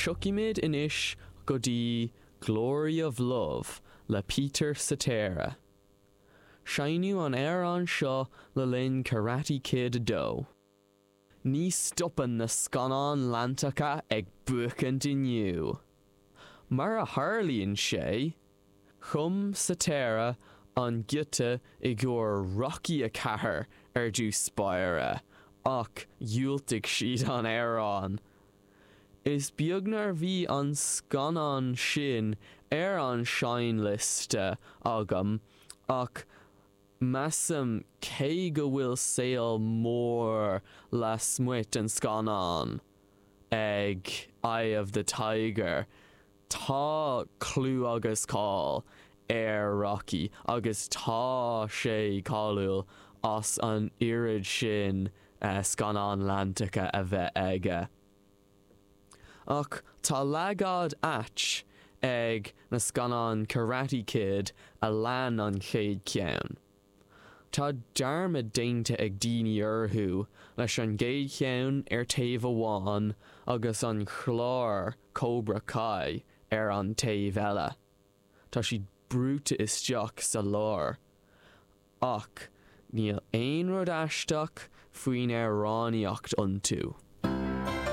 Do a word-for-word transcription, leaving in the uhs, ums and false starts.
Tiocfaimid anois go dtí Glory of Love le Peter Cetera. Seinneadh an amhrán seo le linn Karate Kid a dó. Ní stopann na scannáin leantacha ag buachaint inniu. Mar a tharlaíonn sé, chum Cetera an giota i gcomhair Rocky a ceathair ar dtús báire, ach dhiúltaigh siad an amhrán. Is beag nár bhí an scannán sin ar an seinnliosta agam ach measaim cé go bhfuil saol mór lasmuigh den scannán ag Eye of the Tiger, tá clú agus cáil ar Rocky agus tá sé cáiliúil as an oiread sin uh, scannán leantacha a bheith aige. Ach tá leagáid ait ag na scannáin Karate Kid a lean an chéad cheann. Tá dearmad déanta ag daoine orthu leis an gcéad cheann ar taobh amháin agus an clár Cobra Kai ar an taobh eile. Tá siad brúite isteach sa lár. Ach níl aon rud aisteach faoin amhránaíocht iontu.